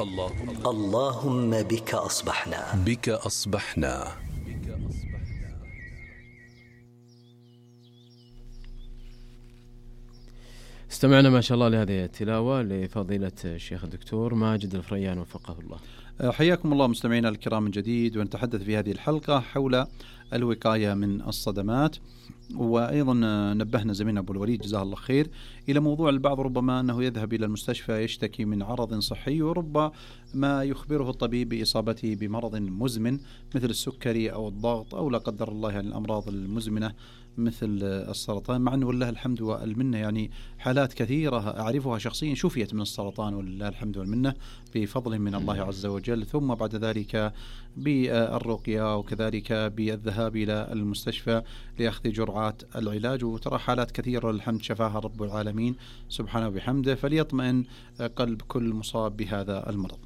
اللهم بك أصبحنا. استمعنا ما شاء الله لهذه التلاوة لفضيلة الشيخ الدكتور ماجد الفريان وفقه الله. حياكم الله مستمعينا الكرام من جديد، ونتحدث في هذه الحلقة حول الوقاية من الصدمات. وأيضا نبهنا زميلنا أبو الوليد جزاه الله خير إلى موضوع البعض ربما أنه يذهب إلى المستشفى يشتكي من عرض صحي، وربما يخبره الطبيب بإصابته بمرض مزمن مثل السكري أو الضغط أو لا قدر الله يعني الأمراض المزمنة مثل السرطان، مع أنه والله الحمد والمنة يعني حالات كثيرة أعرفها شخصيا شفيت من السرطان والله الحمد والمنة بفضل من الله عز وجل، ثم بعد ذلك بالرقية وكذلك بالذهاب إلى المستشفى لأخذ جرعات العلاج، وترى حالات كثيرة الحمد شفاها رب العالمين سبحانه وبحمده، فليطمئن قلب كل مصاب بهذا المرض.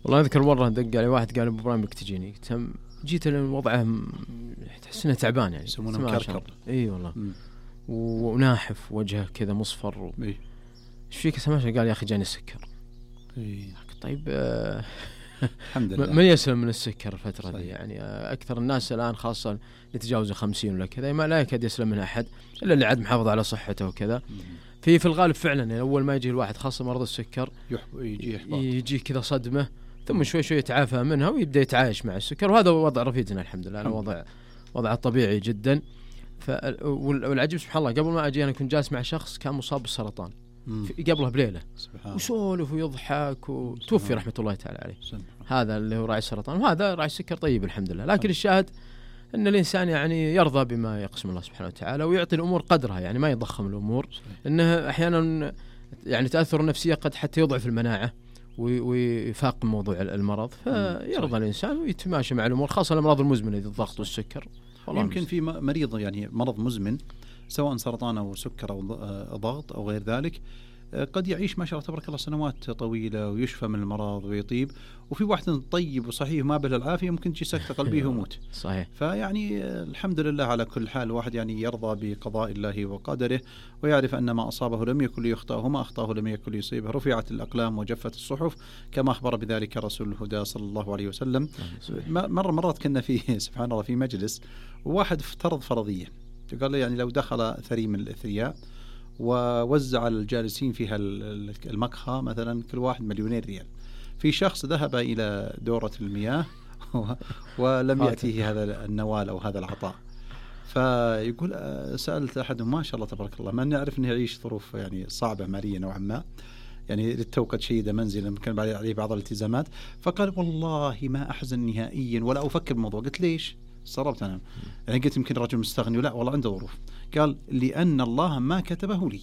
والله أذكر مرة دق علي واحد قال أبو إبراهيم بك تجيني، جيت وضعه تحس انه تعبان يعني يسمونه مكركر. اي والله وناحف وجهه كذا مصفر ايش فيك سمعت؟ قال يا اخي جاني السكر. طيب الحمد لله ما يسلم من السكر الفترة دي يعني. اكثر الناس الان خاصة يتجاوز 50 ولا كذا ما لا يكاد يسلم من احد الا اللي عاد محافظ على صحته وكذا. في الغالب فعلا يعني اول ما يجي الواحد خاصة مرض السكر يجي كذا صدمة، ثم شوي شوي يتعافى منها ويبدأ يتعايش مع السكر، وهذا وضع رفيقنا الحمد لله. أنا وضع طبيعي جدا. والعجيب سبحان الله قبل ما أجي أنا كنت جالس مع شخص كان مصاب بالسرطان قبله بليلة وسولف ويضحك وتوفي رحمة الله تعالى عليه. هذا اللي هو راعي السرطان، وهذا راعي السكر طيب الحمد لله. لكن الشاهد أن الإنسان يعني يرضى بما يقسم الله سبحانه وتعالى ويعطي الأمور قدرها، يعني ما يضخم الأمور، إنه أحيانا يعني تأثر النفسية قد حتى يضعف المناعة ويفاق موضوع المرض، فيرضى الإنسان ويتماشى مع الأمور، خاصة الأمراض المزمنة ذي الضغط والسكر. يمكن في مريض يعني مرض مزمن سواء سرطان أو سكر أو ضغط أو غير ذلك قد يعيش ما شاء الله تبارك الله سنوات طويلة ويشفى من المرض ويطيب، وفي واحد طيب وصحيح ما به العافية ممكن تجي سكتة قلبيه ويموت. صحيح. فيعني الحمد لله على كل حال، واحد يعني يرضى بقضاء الله وقدره ويعرف أن ما أصابه لم يكن ليخطئه وما أخطأه لم يكن ليصيبه، رفعت الأقلام وجفت الصحف كما أخبر بذلك رسول الهدى صلى الله عليه وسلم. مرات كنا فيه سبحان الله في مجلس وواحد افترض فرضية، قال لي يعني لو دخل ثري من الأثرياء ووزع الجالسين فيها المقهى مثلا كل واحد مليونين ريال، في شخص ذهب إلى دورة المياه ولم يأتيه هذا النوال أو هذا العطاء، فيقول سألت أحدهم ما شاء الله تبارك الله ما نعرف أنه يعيش ظروف يعني صعبة مالية نوعا ما، يعني للتو قد شيد منزلا كان عليه بعض الالتزامات، فقال والله ما أحزن نهائيا ولا أفكر بالموضوع. قلت ليش؟ استغربت أنا يعني قلت يمكن رجل مستغني، ولا والله عنده ظروف. قال لأن الله ما كتبه لي،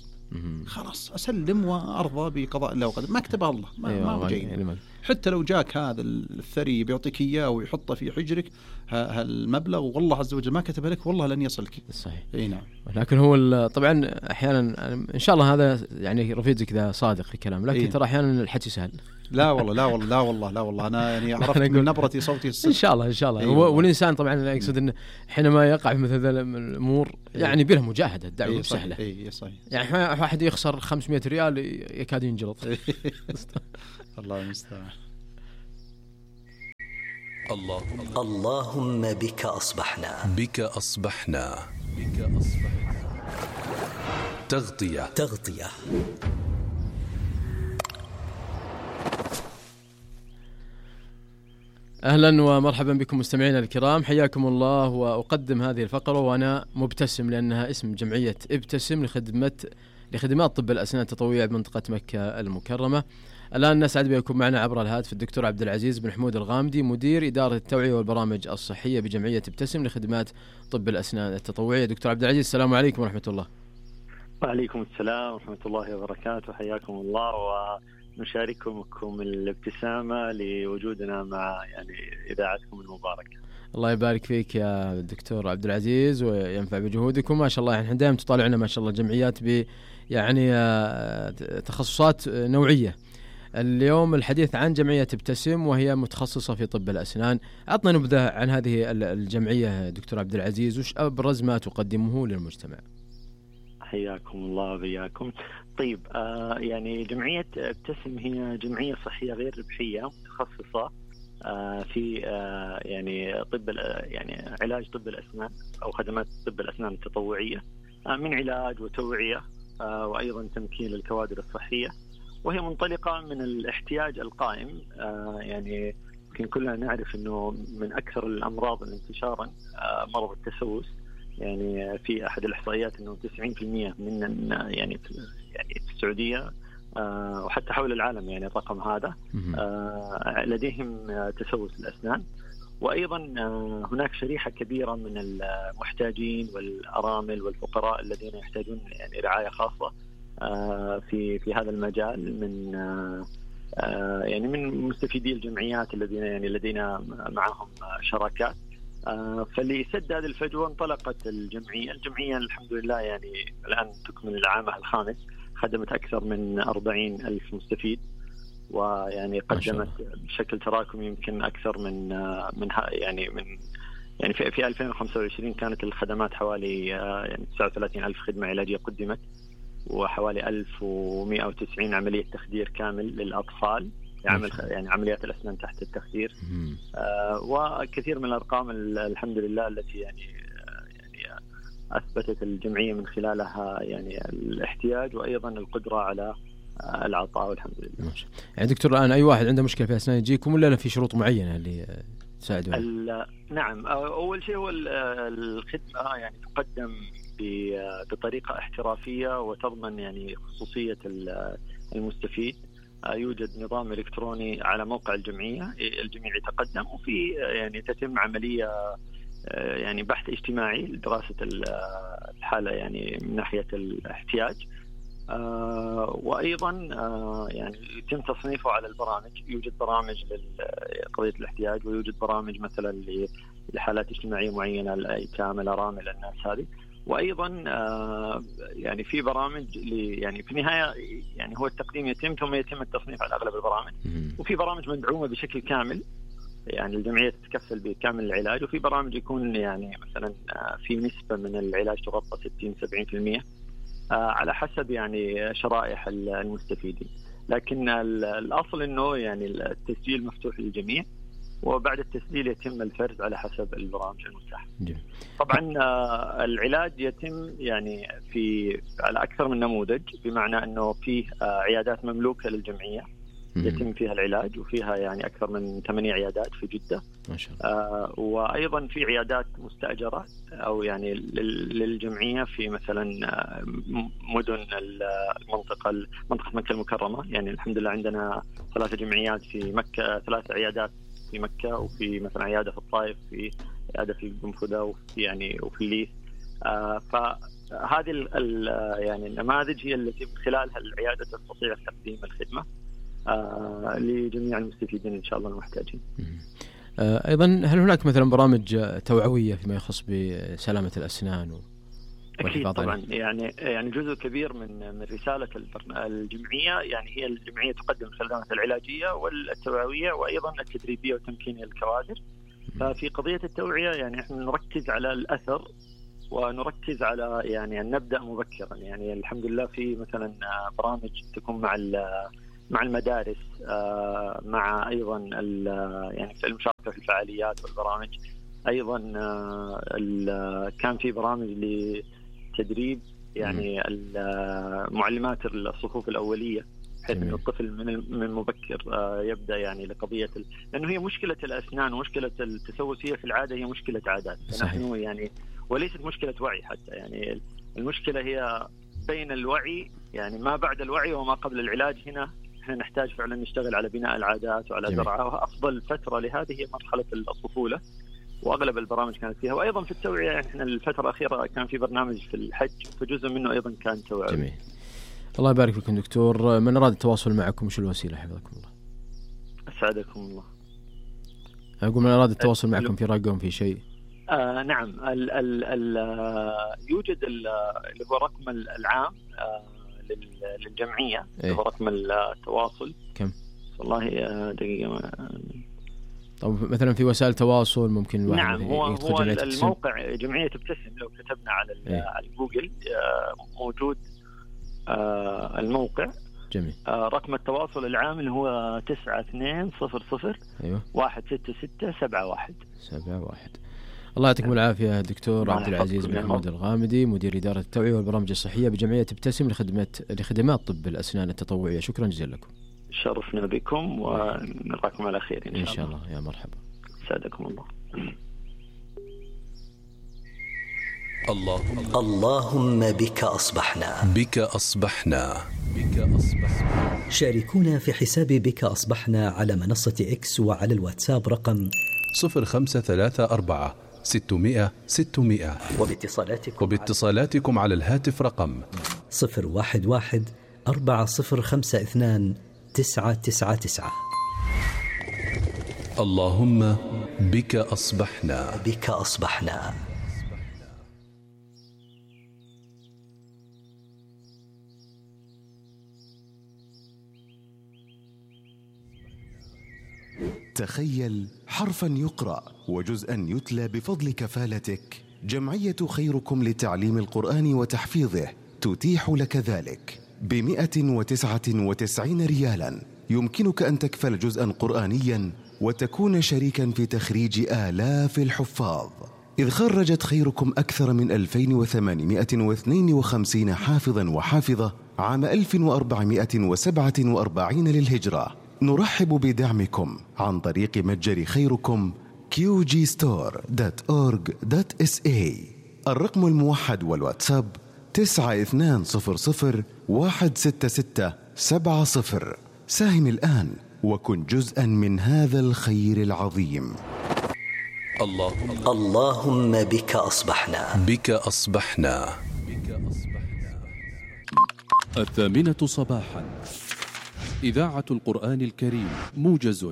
خلاص أسلم وأرضى بقضاء الله وقدر، ما كتبه الله ما هو جاي. حتى لو جاك هذا الثري بيعطيك إياه ويحطه في حجرك هالمبلغ والله عز وجل ما كتبه لك والله لن يصلك. صحيح. اي نعم. لكن هو طبعا أحيانا إن شاء الله هذا يعني رفيقك ذا صادق في كلام، لكن ترى أحيانا الحكي سهل. لا والله أنا يعني عرفت من نبرتي صوتي الصدق. إن شاء الله والإنسان طبعا يقصد إنه حينما يقع في مثل الأمور يعني بله مجاهدة، الدعوة سهلة. صحيح. يعني واحد يخسر 500 ريال يكاد ينجلط. الله المستعان. اللهم بك أصبحنا. تغطية. أهلا ومرحبا بكم مستمعينا الكرام، حياكم الله. وأقدم هذه الفقرة وأنا مبتسم لأنها اسم جمعية ابتسم لخدمات طب الأسنان التطوعية بمنطقة مكة المكرمة. الآن نسعد بكم معنا عبر الهاتف الدكتور عبد العزيز بن حمود الغامدي، مدير إدارة التوعية والبرامج الصحية بجمعية ابتسم لخدمات طب الأسنان التطوعية. دكتور عبد العزيز السلام عليكم ورحمة الله. وعليكم السلام ورحمة الله وبركاته، حياكم الله ونشارككم الابتسامة لوجودنا مع يعني إذاعتكم المباركة. الله يبارك فيك يا دكتور عبد العزيز وينفع بجهودكم ما شاء الله. يعني دائما تطالعنا ما شاء الله جمعيات يعني تخصصات نوعية. اليوم الحديث عن جمعية ابتسم وهي متخصصة في طب الأسنان. أعطنا نبذة عن هذه الجمعية دكتور عبد العزيز، وش أبرز ما تقدمه للمجتمع؟ حياكم الله وبياكم. طيب يعني جمعية ابتسم هي جمعية صحية غير ربحية متخصصة في يعني يعني علاج طب الأسنان أو خدمات طب الأسنان التطوعية من علاج وتوعية وأيضا تمكين للكوادر الصحية، وهي منطلقة من الاحتياج القائم. يعني يمكن كلنا نعرف أنه من أكثر الأمراض انتشارا مرض التسوس. يعني في أحد الإحصائيات أنه 90% من يعني في السعودية وحتى حول العالم يعني الرقم هذا لديهم تسوس الأسنان. وأيضا هناك شريحة كبيرة من المحتاجين والأرامل والفقراء الذين يحتاجون يعني رعاية خاصة في هذا المجال من يعني من مستفيدي الجمعيات الذين يعني لدينا معهم شراكات. فاللي يسد هذه الفجوة انطلقت الجمعية الحمد لله يعني الآن تكمل العامها الخامس، خدمت أكثر من 40,000 مستفيد، ويعني قدمت بشكل تراكمي يمكن أكثر من في 2025 كانت الخدمات حوالي يعني 39,000 خدمة علاجية قدمت، وحوالي 1190 عملية تخدير كامل للأطفال يعني عمليات الأسنان تحت التخدير. وكثير من الأرقام الحمد لله التي يعني أثبتت الجمعية من خلالها يعني الاحتياج وأيضا القدرة على العطاء والحمد لله. يعني دكتور الآن أي واحد عنده مشكلة في أسنان يجيكم ولا في شروط معينة اللي تساعدون؟ نعم، أول شيء هو الخدمة يعني تقدم بطريقة احترافية وتضمن يعني خصوصية المستفيد. يوجد نظام إلكتروني على موقع الجمعية، الجميع يتقدم وفي يعني تتم عملية يعني بحث اجتماعي لدراسة الحالة يعني من ناحية الاحتياج، وأيضا يعني يتم تصنيفه على البرامج. يوجد برامج لقضية الاحتياج، ويوجد برامج مثلا لحالات اجتماعية معينة، الأيتام، الأرامل، الناس هذه. وأيضا يعني في برامج يعني في النهاية يعني هو التقديم يتم ثم يتم التصنيف على أغلب البرامج، وفي برامج مدعومة بشكل كامل يعني الجمعية تتكفل بكامل العلاج، وفي برامج يكون يعني مثلا في نسبة من العلاج تغطى 60-70% على حسب يعني شرائح المستفيدين. لكن الأصل إنه يعني التسجيل مفتوح للجميع، وبعد التسجيل يتم الفرز على حسب البرامج المتاحة. طبعا العلاج يتم يعني على أكثر من نموذج، بمعنى أنه فيه عيادات مملوكة للجمعية يتم فيها العلاج، وفيها يعني أكثر من 8 عيادات في جدة ما شاء الله. وأيضا في عيادات مستأجرة أو يعني للجمعية في مثلا مدن منطقة مكة المكرمة. يعني الحمد لله عندنا 3 جمعيات في مكة، 3 عيادات في مكة، وفي مثلا عيادة في الطائف، في عيادة في القنفذة، وفي الليث. فهذه يعني النماذج هي التي من خلالها العيادة تستطيع تقديم الخدمة لجميع المستفيدين إن شاء الله المحتاجين. أيضا هل هناك مثلا برامج توعوية فيما يخص بسلامة الأسنان أكيد طبعا. يعني جزء كبير من رسالة الجمعية يعني هي الجمعية تقدم الخدمات العلاجية والتوعوية وأيضا التدريبية وتمكين الكوادر. ففي قضية التوعية يعني احنا نركز على الأثر ونركز على يعني أن نبدأ مبكرا. يعني الحمد لله في مثلا برامج تكون مع المدارس، مع أيضا يعني في المشاركة في الفعاليات والبرامج. أيضا كان في برامج لتدريب يعني معلمات الصفوف الأولية، بحيث أن الطفل من مبكر يبدأ يعني لقضية لأنه هي مشكلة الأسنان ومشكلة التسوس هي في العادة هي مشكلة عادات، نحن يعني وليست مشكلة وعي حتى. يعني المشكلة هي بين الوعي يعني ما بعد الوعي وما قبل العلاج. هنا احنا نحتاج فعلا نشتغل على بناء العادات وعلى زرعها، وأفضل فترة لهذه هي مرحلة الطفولة، واغلب البرامج كانت فيها. وايضا في التوعيه يعني احنا الفتره الاخيره كان في برنامج في الحج، فجزء منه ايضا كان توعيه. جميل. الله يبارك فيكم دكتور. من اراد التواصل معكم وش الوسيله حفظكم الله؟ اسعدكم الله. اقول من اراد التواصل معكم في رقم في شيء؟ نعم، يوجد اللي هو رقم العام للجمعيه، اللي هو رقم التواصل. كم؟ والله دقيقه طب مثلا في وسائل تواصل ممكن الواحد نعم، هو جمعية الموقع جمعية ابتسم، لو كتبنا على جوجل موجود الموقع. جميل. رقم التواصل العام اللي هو 9200 أيوة 16671. الله يعطيكم العافية دكتور عبد العزيز بن محمود الغامدي، مدير إدارة التوعية والبرامج الصحية بجمعية ابتسم لخدمات طب الأسنان التطوعية. شكرا جزيلا لكم. شرفنا بكم ونلقاكم على خير إن شاء الله. يا مرحبا. سعدكم الله. اللهم بك أصبحنا. شاركونا في حساب بك أصبحنا على منصة إكس وعلى الواتساب رقم 0534 600 600 وباتصالاتكم على الهاتف رقم 011 4052 999. اللهم بك أصبحنا. تخيل حرفا يقرأ وجزءا يتلى بفضل كفالتك. جمعية خيركم لتعليم القرآن وتحفيظه تتيح لك ذلك ب199 ريالا. يمكنك أن تكفل جزءا قرآنيا وتكون شريكا في تخريج آلاف الحفاظ، إذ خرجت خيركم أكثر من 2852 حافظا وحافظة عام 1447 للهجرة. نرحب بدعمكم عن طريق متجر خيركم qgstore.org.sa. الرقم الموحد والواتساب 9200166770. ساهم الآن وكن جزءا من هذا الخير العظيم. اللهم بك أصبحنا. 8:00 صباحا، إذاعة القرآن الكريم، موجز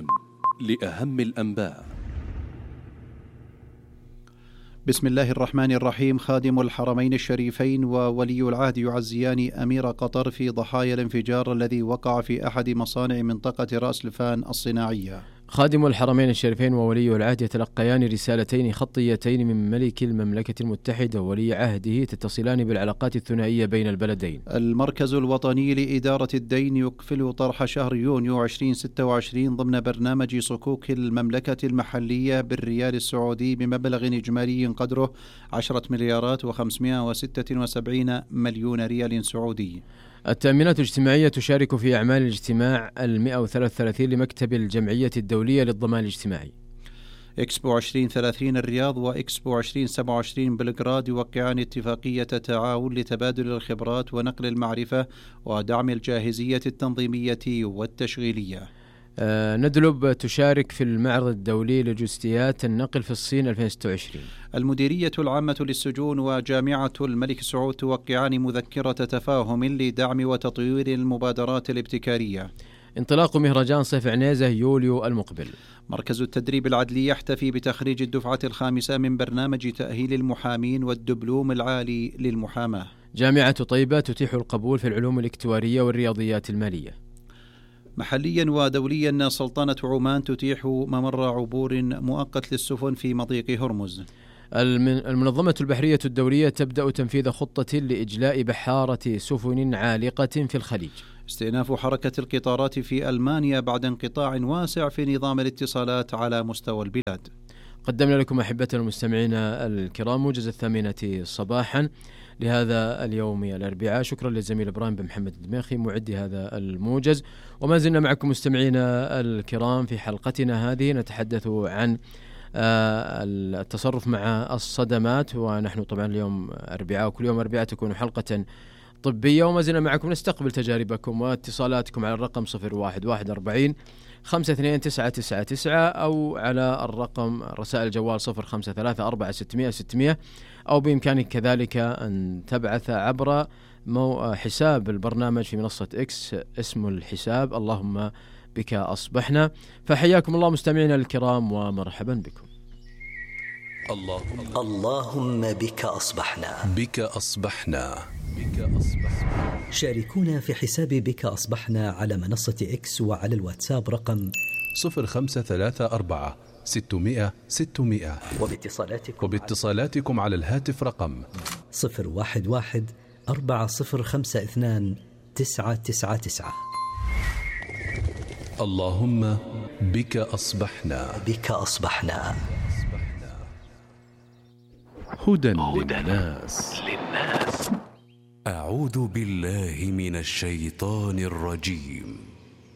لأهم الأنباء. بسم الله الرحمن الرحيم. خادم الحرمين الشريفين وولي العهد يعزيان أمير قطر في ضحايا الانفجار الذي وقع في أحد مصانع منطقة رأس لفان الصناعية. خادم الحرمين الشريفين وولي العهد يتلقيان رسالتين خطيتين من ملك المملكة المتحدة وولي عهده تتصلان بالعلاقات الثنائية بين البلدين. المركز الوطني لإدارة الدين يكفل طرح شهر يونيو 2026 ضمن برنامج صكوك المملكة المحلية بالريال السعودي بمبلغ إجمالي قدره 10,576 مليون ريال سعودي. التأمينات الاجتماعية تشارك في أعمال الاجتماع 133 لمكتب الجمعية الدولية للضمان الاجتماعي. إكسبو 2030 الرياض وإكسبو 2027 بلغراد يوقعان اتفاقية تعاون لتبادل الخبرات ونقل المعرفة ودعم الجاهزية التنظيمية والتشغيلية. ندلب تشارك في المعرض الدولي للوجستيات النقل في الصين 2026. المديرية العامة للسجون وجامعة الملك سعود توقعان مذكرة تفاهم لدعم وتطوير المبادرات الابتكارية. انطلاق مهرجان صيف عنيزة يوليو المقبل. مركز التدريب العدلي يحتفي بتخريج الدفعة الخامسة من برنامج تأهيل المحامين والدبلوم العالي للمحاماة. جامعة طيبة تتيح القبول في العلوم الاكتوارية والرياضيات المالية. محليا ودوليا سلطنة عمان تتيح ممر عبور مؤقت للسفن في مضيق هرمز. المنظمة البحرية الدولية تبدأ تنفيذ خطة لإجلاء بحارة سفن عالقة في الخليج. استئناف حركة القطارات في ألمانيا بعد انقطاع واسع في نظام الاتصالات على مستوى البلاد. قدمنا لكم أحبتنا المستمعين الكرام موجز 8 صباحا لهذا اليوم الأربعاء. شكرا للزميل إبراهيم بن محمد الدماخي معدي هذا الموجز، وما زلنا معكم مستمعينا الكرام في حلقتنا هذه نتحدث عن التصرف مع الصدمات، ونحن طبعا اليوم أربعاء وكل يوم أربعاء تكون حلقة طبية، وما زلنا معكم نستقبل تجاربكم واتصالاتكم على الرقم 01140 52999 أو على الرقم رسائل الجوال 0534 أو بإمكانك كذلك أن تبعث عبر حساب البرنامج في منصة إكس اسم الحساب اللهم بك أصبحنا. فحياكم الله مستمعينا الكرام ومرحبا بكم. اللهم بك أصبحنا. شاركونا في حساب بك أصبحنا على منصة إكس وعلى الواتساب رقم 0534 600 600. وباتصالاتكم على الهاتف رقم 011 4052 999. اللهم بك أصبحنا. بك أصبحنا. هدى للناس. أعوذ بالله من الشيطان الرجيم.